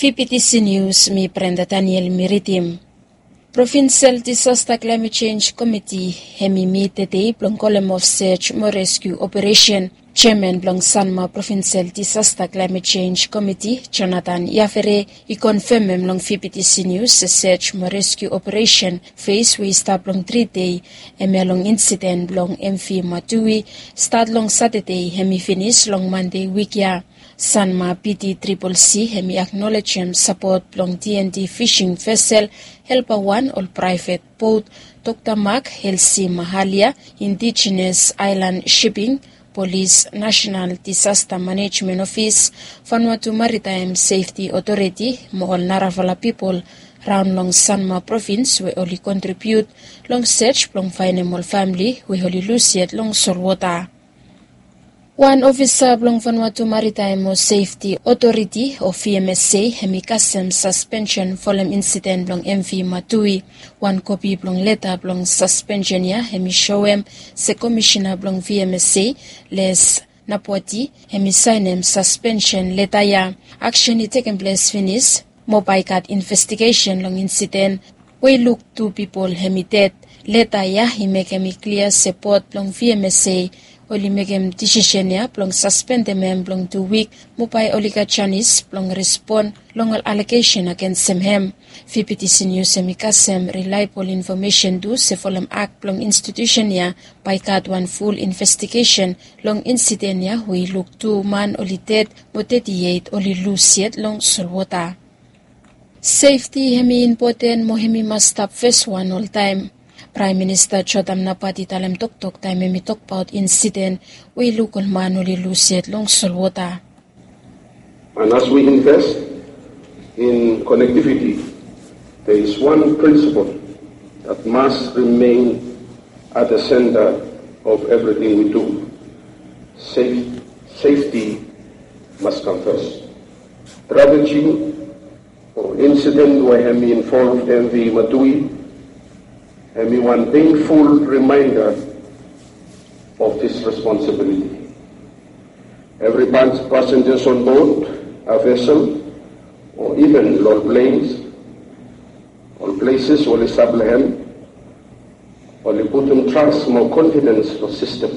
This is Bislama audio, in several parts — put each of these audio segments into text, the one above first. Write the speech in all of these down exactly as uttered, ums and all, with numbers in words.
Fipitisi nius mi Brenda Daniel mi ridim. Provinsel Disasta Klaemet Jenj Komiti hem i mit tedei blong kolem of sej mo reskiu operesen. Jeaman blong Sanma Provinsel Disasta Klaemet Jenj Komiti, Jonathan Yafere, i konfemem long Fipitisi nius se sej mo reskiu operesen fes we i stap long tri dei, hemia long insiden blong M V Matui, stat long Satade hem i finis long Mande wik ya. Sanma P D Triple C hem i aknolejem sapot blong D N D fishing vesel, Helper One, ol praevet bot, Dokta Mark, Helsi Mahalia, Indigenous Island Shipping, Polis, National Disaster Management Office, Vanuatu Maritime Safety Authority mo ol narafala pipol raon long Sanma Provins we oli kontribiut long sej blong faenem ol famili we oli lus yet long solwota. Wan ofisa blong Vanuatu Maritime mo Safety Authority o V M S A hem i kasem saspensen folem insiden blong M V Matui. Wan kopi blong leta blong saspensen ya hem i soem se komisena blong V M S A, Les Napwati, hem i saenem saspensen leta ya. Aksen i tekem ples finis mo bae i gat investigesen long insiden we i luk tu pipol hem i ded. Leta ya i mekem i klia se bot blong V M S A oli mekem disisen ya blong saspendem hem blong tu wik mo bae oli gat janis blong respon long ol alegesen agensem hem. Fipitisi nius hem i kasem rilaebol infomesen tu se folem ak blong institusen ya bae i gat wan ful investigesen long insiden ya we i luk tu man oli ded mo teti eit oli lus yet long solwota. Sefti hem i impoten mo hem i mas stap feswan oltaem. Praem Minista Jotam Napat i talem toktok taem hem i tokbaot insiden we i luk ol man oli lus yet long solwota. And as we invest in connectivity, there is one principle that must remain at the center of everything we do. Safe, safety must come first. Tragedy o insiden we hem i involve M V Matui, hem i wan painful reminder of this responsibility. Every pas-, passengers on board a vessel or even long planes, ol places we oli stap long hem, oli putum trust mo confidence long system,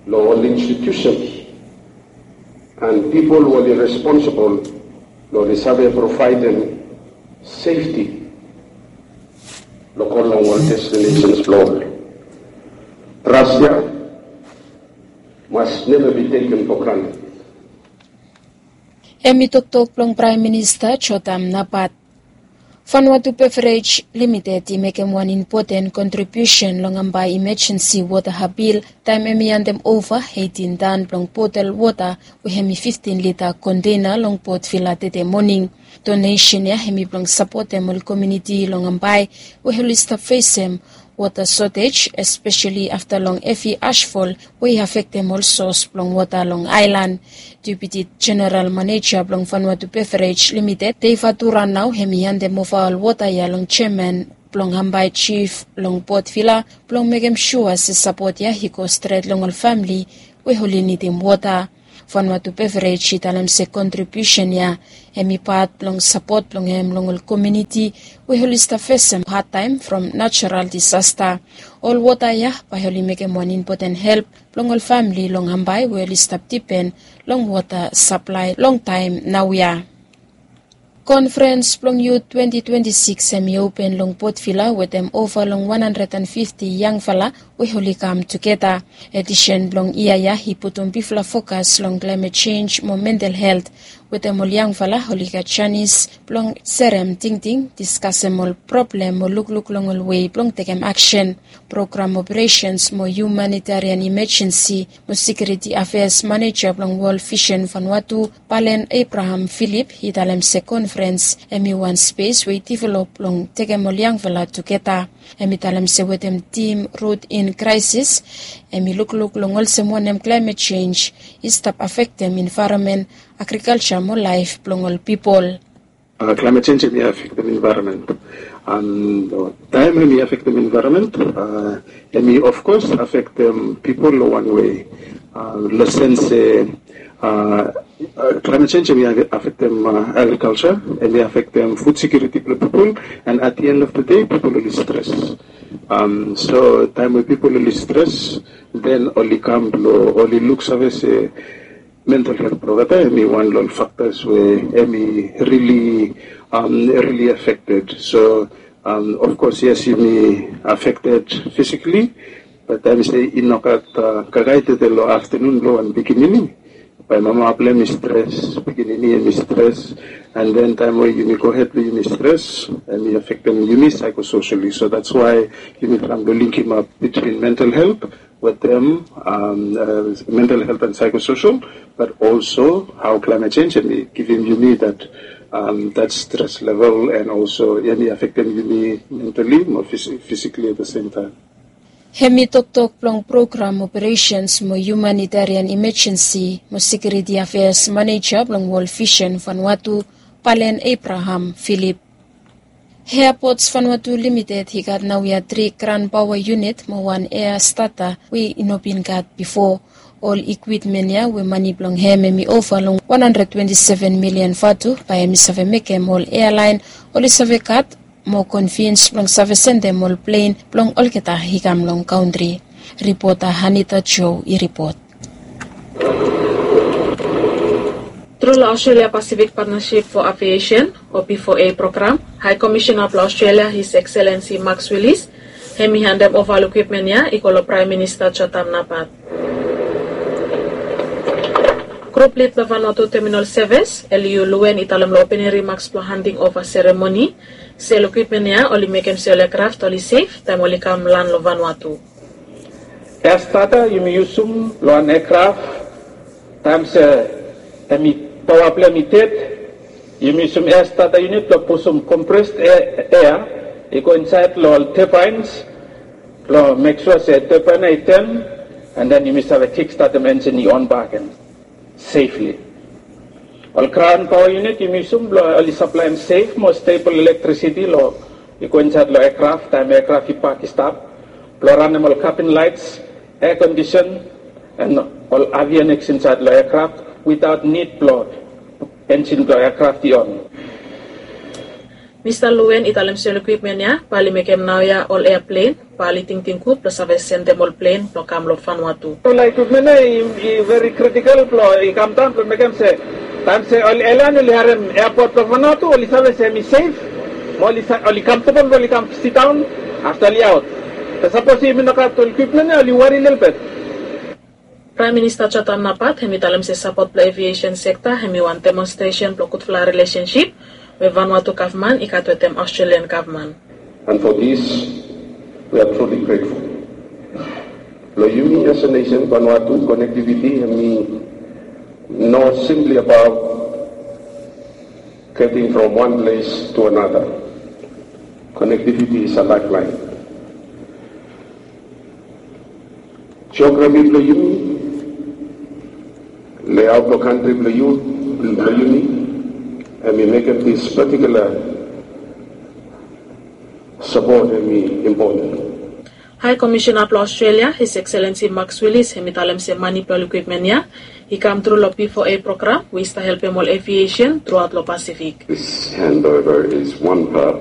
long ol institutions and people we oli responsible long oli save providem safety long go long ol destinations blong ol. Trust ya must never be taken for granted. Hem i toktok blong Praem Minista Jotam Napat. Vanuatu Beverage Limited i mekem wan impoten kontribiusen long hambae imajensi wota apil taem hem i handem ova eitin tan blong botel wota we hem i fiftin lita konteina long Port Vila tede moning. Donesen ya hem i blong sapotem ol komuniti long hambae we oli stap fesem wota sotej, espeseli afta long hevi asfol we i afektem ol sos blong wota long aelan. Deputi Jeneral Maneja blong Vanuatu Beverage Limited, Dave Atura, nao hem i handem ova ol wota ya long jeaman blong hambae jif long Port Vila blong mekem sua se sapot ya i go stret long ol famili we oli nidim wota. Vanuatu Beverage i talem se kontribiusen ya hem i pat blong sapot blong hem long ol komuniti we oli stap fesem hadtaem from najeral disasta. Ol wota ya bae oli mekem wan impoten help blong ol famili long hambae we oli stap dipen long wota saplae long taem naoia. Konferens blong yut twenti twenti sikis hem i open long Port Vila wetem ova long wan handred and fifti yangfala we oli kam tugeta. Edisen blong yia ya i putum bigfala fokas long klaemet jenj mo mental helt. Wetem ol yangfala oli gat janis blong serem tingting, diskasem ol problem mo lukluk long ol wei blong tekem aksen. Program Operesens mo Humanitarian Imajensi mo Sekiuriti Afeas Maneja blong Wol Visen Vanuatu, Palen Abraham Philip, i talem se konferens hem i wan spes we i divelop blong tekem ol yangfala tugeta. Hem i talem se wetem tim Rut in Kraesis, hem i lukluk long olsem wanem klaemet jenj i stap afektem envaeronmen, agrikalja mo laef blong ol pipol. Klaemet jenj hem i afektem envaeronmen. An taem hem i afektem envaeronmen, hem i ofkos afektem pipol long wan wei. Long sens se Climate change hemi afektem agriculture, hemi afektem food security blong pipol, and at the end of the day pipol oli stres. So taem we pipol oli stres, then oli kam blong oli luksave se mental health blong olgeta hemi wan long ol factors we hemi really really affected. So of course yes, yumi affected physically, but taem se i nogat kakae tede long aftenun blong wan pikinini, bae mama blong hem i stres, pikinini hem i stres, and then taem we yumi gohed blong yumi stres, hemi affectem yumi psychosocially. So that's why yumi traem blong linkimap between mental health with them, mental health and psychosocial, but also how climate change hemi givim yumi that that stress level, and also hemi affectem yumi mentally mo physically at the same time. Hemi toktok blong program operations mo humanitarian emergency mo security affairs manager blong World Vision Vanuatu, Palen Abraham Philip. Airports Vanuatu Limited i gat naoia tri Crown Power Unit mo wan Air Starter we i no bin gat bifo. Ol ekwipmen ya we mane blong hem hemi ova long wan handred twenti seven milian vatu bae hemi save mekem ol airline oli save gat mo convenience blong save sendem ol plen blong olgeta i kam long kantri. Ripota Hanita Joe i ripot. Tru long Australia Pacific Partnership for Aviation o P four A program, High Commissioner blong Australia, His Excellency Max Willis, hemi handem ova ol ekwipmen ya i go long Prime Minister Jotham Napat. Grup lid blong Vanuatu Terminal Service, Eliu Luen, i talem long opening remarks blong handing ova seremoni se ol ekwipmen ya oli mekem se ol aircraft oli sef taem oli kam lan long Vanuatu. Air Starter yumi yusum long wan aircraft taem se hemi paoa blong hem i ded. Yumi yusum Air Starter unit blong pusum compressed air i go insaed long ol turbines blong mek sua se turbine ya i turn, and then yumi save kickstartem engine i on bak agen safely. Ol Crown Power Unit yumi yusum blong oli saplaem safe mo stable electricity long i go insaed long aircraft taem aircraft i pak i stap, blong ranem ol cabin lights, air condition, and ol avionics insaed long aircraft without need blong engine blong aircraft i on. Mista Luen i talem se ol ekwipmen ya bae oli mekem naoia ol airplane bae oli tingting gud blong save sendem ol plen blong kam long Vanuatu. Ol ekwipmen ya i veri critical blong i kamdaon blong mekem se taem se ol airline oli harem airport blong Vanuatu oli save se hemi sef mo oli comfortable blong oli kam sidaon afta oli aot. Be sapos yumi nogat ol ekwipmen ya oli wari lelebet. Praem Minista Jotham Napat hemi talem se sapot blong aviation sekta hemi wan demonstresen blong gudfala rilesensip we Vanuatu gavman i gat wetem Australian gavman. And for this we are truly grateful. Blong yumi as a nation, Vanuatu connectivity hemi no simply about getting from one place to another. Connectivity is a lifeline. Geography blong yumi, layout blong kantri blong yumi, hemi mekem this particular support hemi important. High Commissioner blong Australia, His Excellency Max Willis, hemi talem se mane blong ol ekwipmen ya i kam tru long P four A program we i stap helpem ol aviation truaot long Pacific. This handover is one part